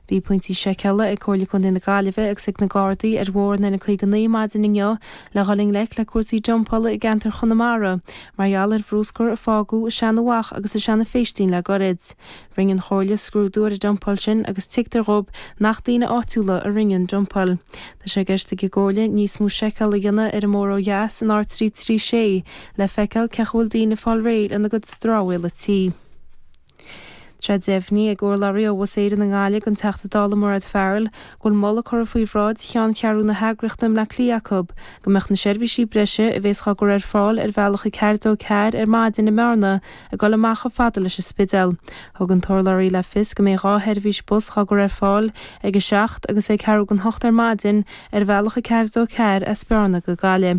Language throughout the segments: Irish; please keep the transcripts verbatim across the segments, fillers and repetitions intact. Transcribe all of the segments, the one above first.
Bhí pointí seiceála ag Comhairle Contae na Gaillimhe agus ag na Gardaí ar bhóthar an N caoga naoi maidin inniu le dhul i ngleic le cúrsaí dumpála i gceantar Chonamara mar gheall ar bhruscar a fágadh i Seanadh Mhach agus i Seanadh Phéistín le gairid. Rinne an Chomhairle scrúdú ar an dumpáil sin agus tuigtear dóibh nach daoine áitiúla a rinne an dumpáil. Tá sé i gceist ag an gComhairle níos mó seiceáil a dhéanamh ar an mbóthar ó dheas an R trí trí sé le feiceáil cén chaoi a bhfuil daoine ag fáil réidh lena gcuid dramhaíola tí. Tá sé deimhnithe ag urlabhraí ó Bhus Éireann i nGaillimh don Teachta Dála Mairéad Farrell go bhfuil moladh curtha faoi bhráid cheanncheathrú na heagraíochta i mBleá Cliath acu go mbeadh na seirbhísí breise a bhéas á gcur ar fáil ar bhealach a ceathair dó ceathair ar maidin i mBearna ag dul amach chomh fada leis an Spidéal. Thug an t-urlabhraí le fios go mbeidh dhá sheirbhís bus á gcur ar fáil ag a seacht agus ag ceathrú don hocht ar maidin ar bhealach a ceathair dó ceathair as Bearna go Gaillimh.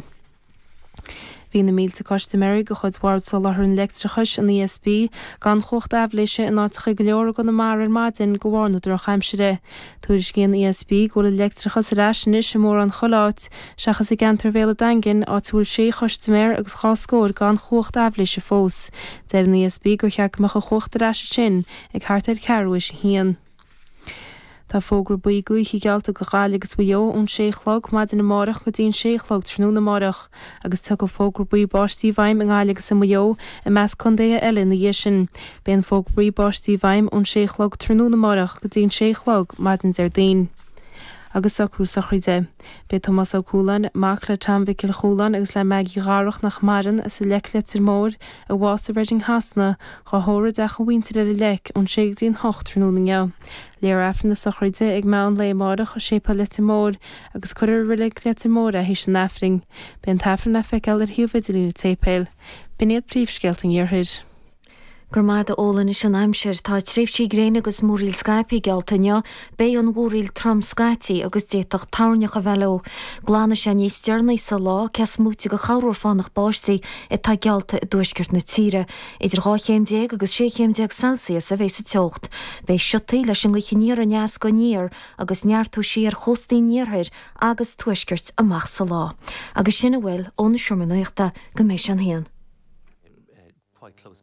Bhí na mílte custaiméirí de chuid Bhord Soláthair an Leictreachais, an ESB, gan chumhacht aibhléise in áiteacha go leor i gConamara ar maidin de bharr na drochaimsire. Tuairiscíonn ESB go bhfuil an leictreachas ar ais anois i mórán chuile áit, seachas i gceantar Bhéal an Daingin, áit a bhfuil sé chustaiméir agus dhá scór gan chumhacht aibhléise fós. Deir an ESB gur cheart go mbeadh an chumhacht ar ais ansin ag thart ar ceathrú théis a haon. Tá fógra buí gaoithe geallta do Ghaillimh agus Mhaigh Eo ón sé a chlog maidin amárach go dtí an sé a chlog tráthnóna amárach, agus tiocfaidh fógra buí báistí i bhfeidhm i nGaillimh agus i Maigh Eo i measc contaetha eile ina dhiaidh sin. Beidh an fógra buí báistí i bhfeidhm ón sé a chlog tráthnóna amárach go dtí an sé a chlog maidin Déardaoin. Agus socrú sochraide. Beidh Tomás Ó Cualáin, mac le Tom Mhicil Chualáin agus le Maggie Dharach nach maireann, as an Leic Leitir Móir, a bhásaigh i Reading Shasana, dhá thórramh i dteach a mhuintire ar an Leic ón sé go dtí an hocht tráthnóna inniu. Léifear Aifreann na sochraide ag meán lae amárach i Séipéal Leitir Móir agus cuirfear i Reilig Leitir Móir é théis an Aifrinn. Beidh an tAifreann le feiceáil ar shuíomh idirlín an tséipéil. B'in iad príomhscéalta an Iarthair. Go raibh maith agat a Ola anois an aimsir. Tá tréimhsí gréine agus múraíl scaipthe geallta inniu. Beidh an mhúraíl trom scaití agus d'fhéadfadh toirneach a bheith leo. Glanfaidh sé níos deireanaí sa lá, cé is móite de chorrmhúr fánach báistí atá geallta i dtuaisceart na tíre. Idir dhá chéim déag agus sé chéim déag Celsius a bheidh sa teocht. Beidh siotaí leis an ngaoth aniar aneas go aniar agus neartóidh sí ar chóstaí an iarthair agus tuaiscirt amach sa lá. Agus sin a bhfuil ón seomra nuachta go mbeidh sé an haon. quite close